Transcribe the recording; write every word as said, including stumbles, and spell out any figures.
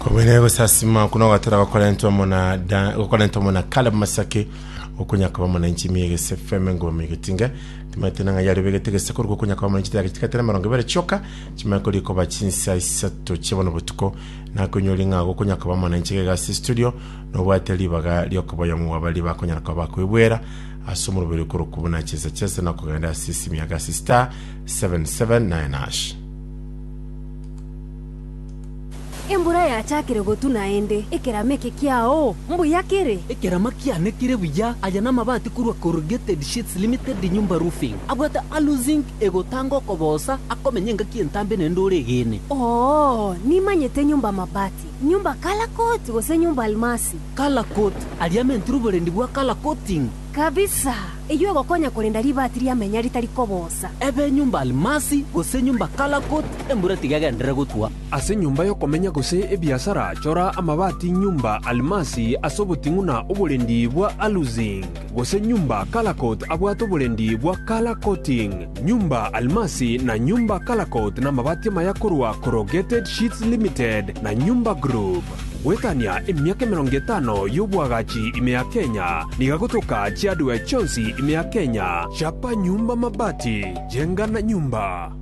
Kobere gosasima kuno gatera gokorentwa mona da gokorentwa mona Caleb Masaki okunya kaba mona nchimi egese F M ngoma egetinga timate nanga yari begete gese koruko kunya kaba mona nchitaka chikatera marongo bere choka chimako rikoba chinsa isato chibono butuko nakonyori ng'a gokonya kaba mona nchige gasi studio nobwate ribaga riokoboya mu abali bakonyara kaba bakwibwera ase omoroberi korokubuna buna chesa chesa na kogenda ase esimu ya gasi star seven seven nine hash. Embura yachakire gotu naende ekerama eke kiao mbuya kere. Ekerama kiane kere buya. Aya namabati korwa Corrugated Sheets Limited Nyumba Roofing abwate aluzinc egotanga okobosa akomenya engaki entambe naende ore egene. Oo, nimanyete Nyumba Mabati, Nyumba Color Coat gose Nyumba Almasi. Color Coat aria amentire oborendi bwa color coating. Kabisa, eywo egokonya korenda ribati riamenya ritari kobosa. Ebe Nyumba Almasi gose Nyumba Color Coat, embura tiga egenderere gotwa. Ase nyumba yokomenya gose ebiasara chora amabati Nyumba Almasi ase oboting'u na oborendi bwa aluzinc gose Nyumba Color Coat abwate oborendi bwa color coating. Nyumba Almasi na Nyumba Color Coat na amabati amaya korwa Corrugated Sheets Limited na Nyumba Group gwetania emiaka emerongo etano y'obwagachi ime ya Kenya niga gotoka chiadwe chionsi ime ya Kenya. Chapa Nyumba Mabati, jenga na nyumba.